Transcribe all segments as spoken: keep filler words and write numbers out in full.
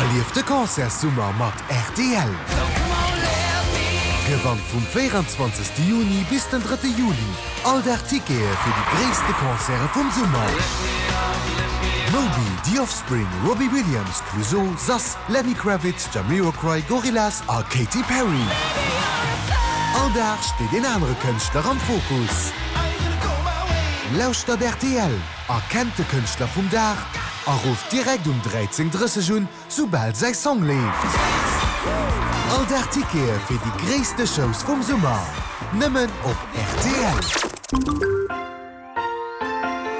Erlief de Concertssummer mat rtl! Gewannt vum véieranzwanzegste Juni bis den drëtte Juli all Dag Tickete fir déi gréisste Concerte vum Summer! Moby, The Offspring, Robbie Williams, Clouseau, Sass, Lenny Kravitz, Jamiroquai, Gorillaz a Katy Perry. All Dag steet een anere Kënschtler am Fokus. Lauschtert rtl, erkennt de Kënschtler vum Dag a rufft direkt um dräizéng drësseg un, soubal säi Song leeft. All Dag Tickete fir déi gréisste Shows vum Summer, nëmmen op rtl.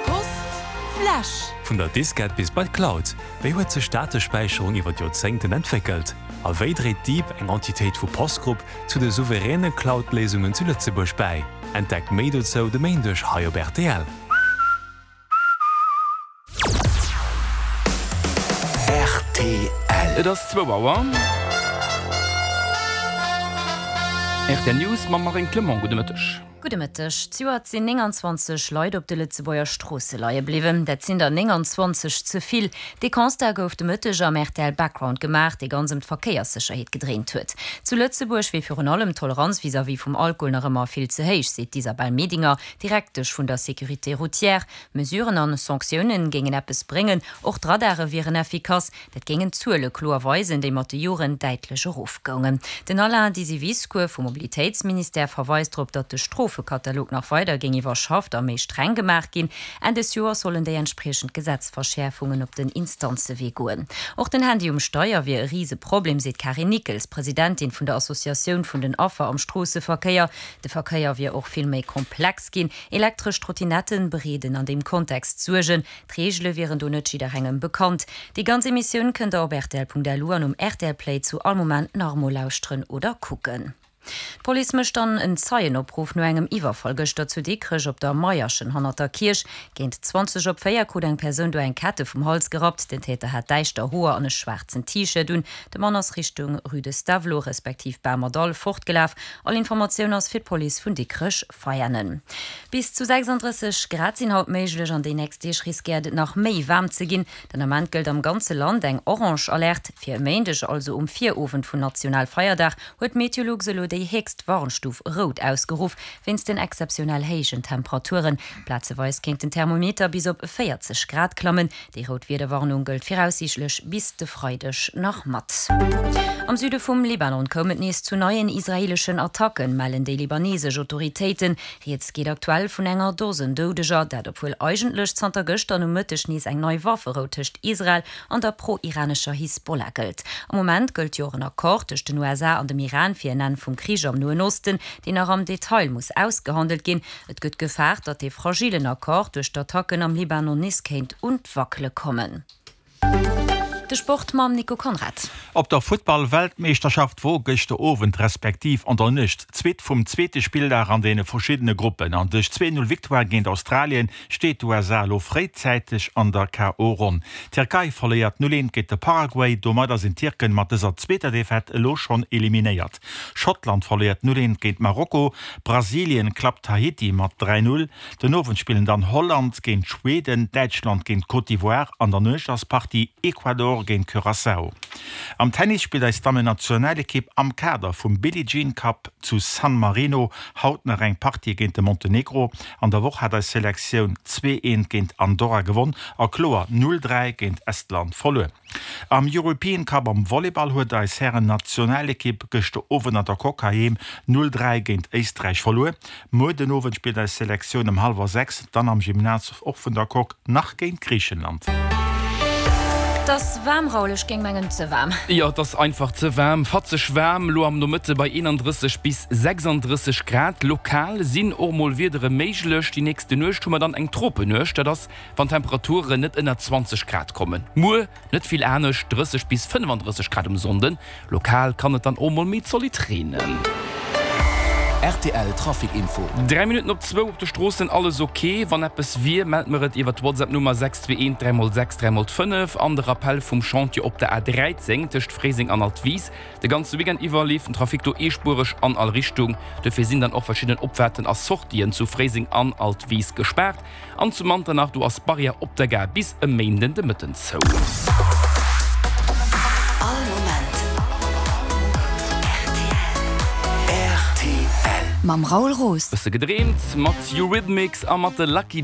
Post Flash. Vun der Diskett bis bei d'Cloud, Wéi huet sech d'Datespäicherung iwwer d'Joerzéngten entwéckelt? A wéi dréit DEEP, eng Entitéit vu Post Group, zu de souveräne Cloud-Léisungen zu Lëtzebuerg bäi? Entdeckt méi dozou de Méindeg hei op rtl. Rtl. Et ass zwou Auer. Rtl News mam Marine Clement. Gudde Mëtteg. Gudde Mëtteg. Zejoert sinn nénganzwanzeg Leit op de Lëtzebuerger Stroosse leie bliwwen. Dat sinn der nénganzwanzeg ze vill. Dee Constat gouf de Mëtteg am rtl Background gemaach, dee ganz ëm d'Verkéierssécherheet gedréint huet. Zu Lëtzebuerg wier virun allem d'Toleranz vis-à-vis vum Alkohol nach ëmmer vill ze héich, seet d'Isabelle Medinger, Direktesch vun der Sécurité routière. Mesuren an Sanktiounen géingen eppes bréngen, och d'Radare wieren effikass. Dat géingen d'Zuele kloer weisen, déi mat de Joren däitlech erofgoungen. Den Alain Disiviscour vum Mobilitéitsministère verweist drop, datt de Strofekatalog nach weider géing iwwerschafft a méi streng gemaach ginn. Enn des Joers sollen déi entspriechend Gesetzverschäerfungen op den Instanzewee goen. Och den Handy um Steier wier e Riseproblem, seet d'Karin Nickels, Presidentin vun der Associatioun vun den Affer am Stroosseverkéier. De Verkéier wier och vill méi komplex ginn. Elektresch Trottinetten bereeden an deem Kontext Suergen. D'Reegele wieren do net jidderengem bekannt. Déi ganz Emissioun kënnt der op rtl.lu an um rtl Play zu all Moment nach emol lauschteren oder kucken. D'Police mécht dann en Zeienopruff no engem Iwwerfall gëschter zu Dikrech op der Maierchen hannert der Kierch. Géint zwanzeg op véier krut eng Persoun do eng Kette vum Hals gerappt. Den Täter hat däischter Hoer an e schwaarzen T-Shirt un. De Mann ass Richtung Rue de Stavelot respektiv Bamerdall fortgelaf. All Informatioun ass fir d'Police vun Dikrech Veianen. Bis zu sechsanddrësseg Grad sinn haut méiglech. An déi nächst Deeg riskéiert et nach méi waarm ze ginn. Den Ament gëllt am ganze Land eng orange Alerte. Fir e Méindeg, also um Virowend vun Nationalfeierdag, huet Meteolux elo déi héchst Warnstuf rout ausgeruff, wéinst den exzeptionell héijen Temperaturen. Plazeweis kéint den Thermometer bis op véierzeg Grad klammen. Déi rout Wiederwarnung gëllt viraussiichtlech bis de Freideg nach mat. Am Süde vum Libanon koum et nees zu neien israeeleschen Attacken, mellen déi libanesesch Autoritéiten. Rieds geet aktuell vun enger Dosen Doudeger, dat obwuel eigentlech zanter gëschter Nomëtteg nees eng nei Wafferou tëscht Israel an der pro-iranescher Hisbollah gëllt. Am Moment gëllt jo och en Accord tëscht den U S A an dem Iran fir en Enn vum Krich am Noen Osten, deen nach am Detail muss ausgehandelt ginn. Et gëtt gefaart, datt dee fragilen Accord duerch d'Attacken am Libanon nees kéint un d'Wackele kommen. De Sport mam Nico Conrad. Op der Futtball-Weltmeeschterschaft wor gëschter Owend respektiv an der Nuecht d'Suite vum zweete Spilldag an deene verschiddene Gruppen an duerch d'zwee Null Victoire géint Australien steet d'U S A elo fréizäiteg an der K O. Ronn. D'Tierkei verléiert null eent géint de Paraguay, domadder sinn d'Tierken mat dëser zweeter Defaite elo schonn eliminéiert. Schottland verléiert null eent géint Marokko, Brasilien klappt Haiti mat dräi Null. Den Owend spillen dann Holland géint Schweden, Däitschland géint Côte d'Ivoire, an der Nuecht ass d'Partie Ecuador géint Curaçao. Am Tennis spillt eis Dammen-Nationalekipp am Kader vum Billie Jean Cup zu San Marino haut nach eng Partie géint de Montenegro. An der Woch hat eis Selektioun zwee eent géint Andorra gewonn a kloer null dräi géint Estland verluer. Am European Cup am Volleyball huet eis Hären-Nationalekipp gëschter Owend an der Coque heiheem null dräi géint Éisträich verluer. Muer den Owend spillt eis Selektioun ëm hallwer sechs dann am Gymnase och vun der Coque nach géint Griichenland. Et ass waarm, Raoul, ech géing mengen ze waarm. Jo, et ass einfach ze waarm, fatzeg waarm, elo am Nomëtte bei eenandrësseg bis sechsandrësseg Grad. Lokal sinn och mol Wiedere méiglech. Déi nächste Nuecht hu mer dann eng Tropenuecht, dat ass wann d'Temperaturen net ënner zwanzeg Grad kommen. Muer net vill anescht, drësseg bis fënnefandrësseg Grad um Sonnden. Lokal kann et dann och mol méi zolidd reenen. Rtl Trafic Info. Dräi Minutten op zwou, op de Stroossen alles ok. Wann eppes wier, mellt mer et iwwer d'Whatsapp Nummer sechs zwee eent dräi mol sechs dräi mol fënnef. An de Rappell vum Chantier op der A dräizéng tëscht Fréiseng an Altwis. De ganze Weekend iwwer leeft den Trafic do eespuereg an all Richtung. Dofir sinn dann och verschidden Opfaarten a Sortien zu Fréiseng an Altwis gespaart. An zu Manternach, do ass d'Barrière op der Gare bis e Méinden de Mëtten zou. Mam Raoul Roos. Bësse gedreemt mat Eurythmics a mat de Lucky